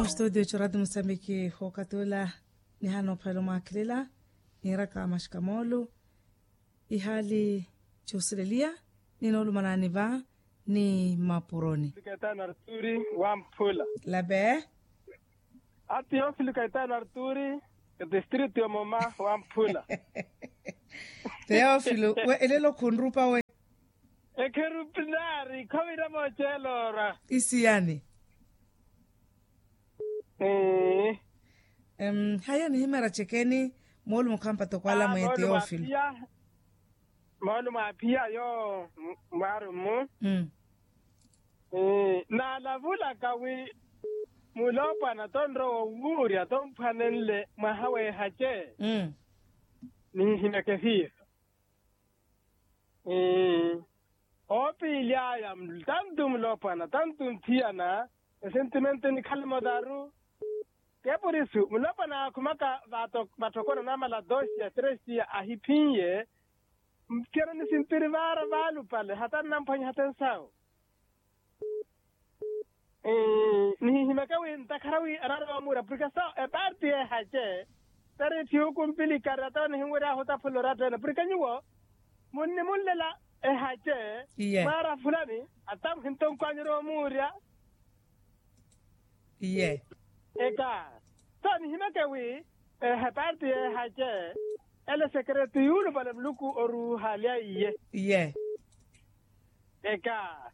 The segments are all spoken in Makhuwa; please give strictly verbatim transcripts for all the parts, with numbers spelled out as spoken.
Ostudio jorati musambiki hookatula. Nihana ophela omwaakhelela, niiraka maxikamoolu, ihaali josileliya, ninoolumanani va ni mapuroni. Kaitano arturi, wamphula. Lape. Ati ofili kaitano arturi, distrito ya moma wamphula. Teofilo we elelo khunrupa we. Ekherupinari khovira mooceloora. Isiyani. Haya nihimeera cekeni. Moolumo khampata okwala mwe teofilo. Moolumo aphiya yo mwaarumu. Naalavulaka wi muloopwana tonrowa owuurya tomphwanenle mwaha weehace. Nihihimeke hiiso. Oopiily'aya tantu muloopwana tantu nthiyana. Esentimente nikhale motaru. Ke purisu muloopwana aakhumaka vatthokona namala doxia trexia ahiphin'ye. Mphiyana nisintiri vaara vaalupale hata nnamphwanya hata ensawu. Nihihimeke wi ntakhara wi anarowa omuura purke so eparti ehace. Tari thiuku mpilikari atawo nihinweryahu otaphula oratta ene purke nyuwo munnimunlela ehace. Mwaara fulani atamu hintonkwanyerya omuurya. Eka so nihimeke wi eparti ehace ele sekeretu yuulupale muluku oruuhalya iye. Eka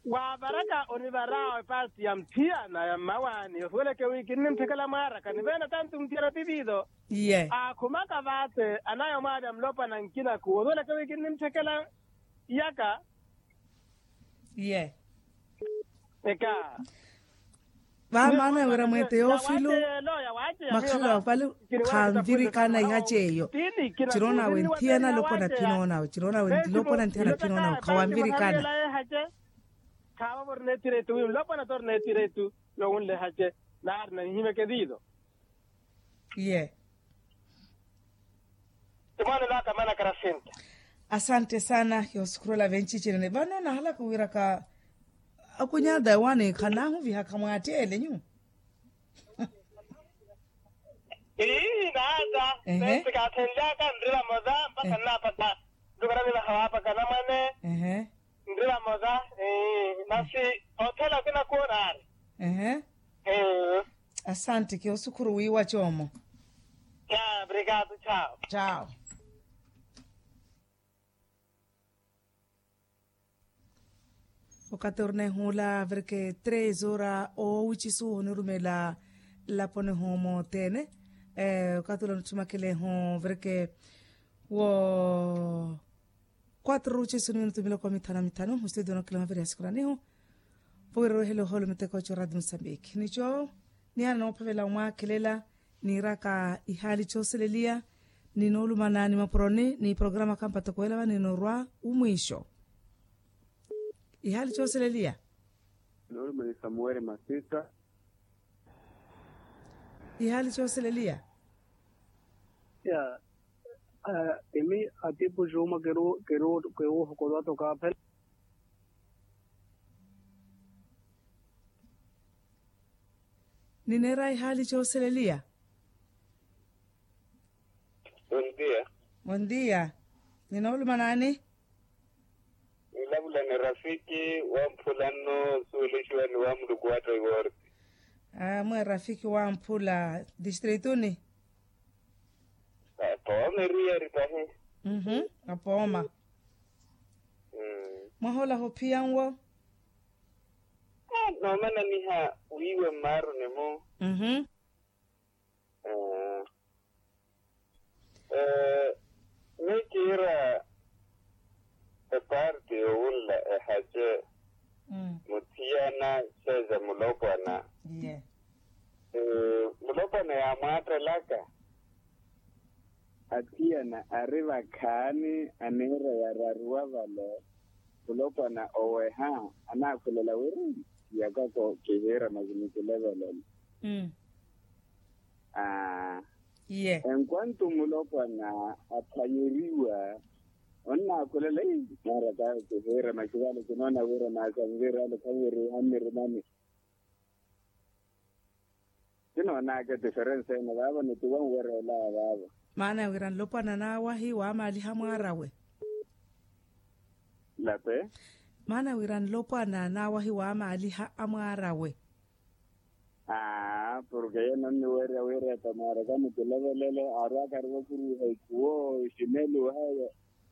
waavaraka onivaraawe paati ya mthiyana ya mmawaani osuweleke wi kinnimthekela mwaaraka ni veena tantu mthiyana tiviido. Aakhumaka vaate anaya omwaalya mulopwana nkinaku osuweleke wi kinnimthekela. Iyaka. Eka. Vaamaana wira mwe teofilo. Makhala vale khanvirikana ihaci eyo. Ciroona awe nthiyana lopona phinoonawe ciroona awe lopona nthiyana phinoonawe khawanvirikana. Khaavavori neetiretu wi nlopona tori neetiretu. Yowunle hace naari nanihimeke viido. Iye. Timwaani laka mana karasinta. Asante sana yosukhurela venci cinene vano nahalaka wiiraka. Akunyada wani khanahuvihaka mwatteele nyu. Ii naata. Ehe. Nesi kaathenlyaka nrila mosa mpaka nnapaka. Ndukarani nahawaapaka namwane. Ehe. Nrila mosa. Ii masi othela kinakuwo naari. Ehe. Ii. Asante kiosukhuru wiiwa coomo. Ca obrigado. Cao. Cao. Okatornehuula avireke tres ora owucisu onirumela. Laponihu mothene. Okatula onithumakelehu avireke wo. Quatro owucisu ni minutu miloko mithanu na mithanu mustudio nokilaha viri ya sikuranihu. Vowira rowehela ohoolo miteko co radio musambiki nico. Niyaana noophavela omwaakhelela niiraka ihaali cooseleliya. Ninoolumana ni mapuroni ni programa kampata kuwela vani norwa umwiixo. Ihaali cooseleliya. Noolumana ni samuweli masisa. Ihaali cooseleliya. Ya. Emi atipu juma keru keru keru hokolwa toka phela. Nineera ihaali cooseleliya. Bondia. Bondia. Ninooluma naani? Nilavula ni rafiki wamphula nno osuwelexiwa ni wamuluku watta iworti. Amwe rafiki wamphula distrituni. Apooma eriyari tahi. Apooma. Mwahola hophiya nwo. Noomananiha wiiwe mmaaruni-mu. Miyo kiira eparti yowunla ehace. Muthiyana xeexa mulopwana. Mulopwana yaamwaattelaka. Athiyana ari vakhaani aniira yararuwa vale. Mulopwana oweha anaakhulela wiri iyakako kihiira masi nikilevelele. Aa. Enquanto mulopwana aphwanyeriwa onnaakhulela ii naaraka kihiira masi vale kinoona wira naasanvirale khaviri hanirimani. Noonaka etiferense ene vaavo nituwa nwerela vaavo. Maana wira nlopwana naawahi waamaaliha mwaarawe. Lape. Maana wira nlopwana naawahi waamaaliha amwaarawe. Aa porke yeno nniwerya wira etamwaaraka mutilevelele aarwaka ari wakuruwiha ikuwo ximeluha.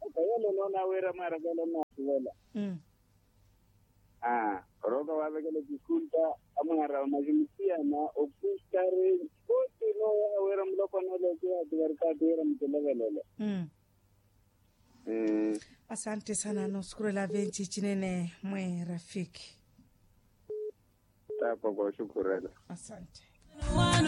Aka yelo noona wira mwaaraka ela nnaasivela. Orooka waavekela episkulta amwaara wa maximutiyana okustareni. Koti noowaha wira mulopwana ole okihaatikarikaati wira mutilevelele. Asante sana noosukurela venci cinene mwe rafiki. Taapa koosukurela. Asante.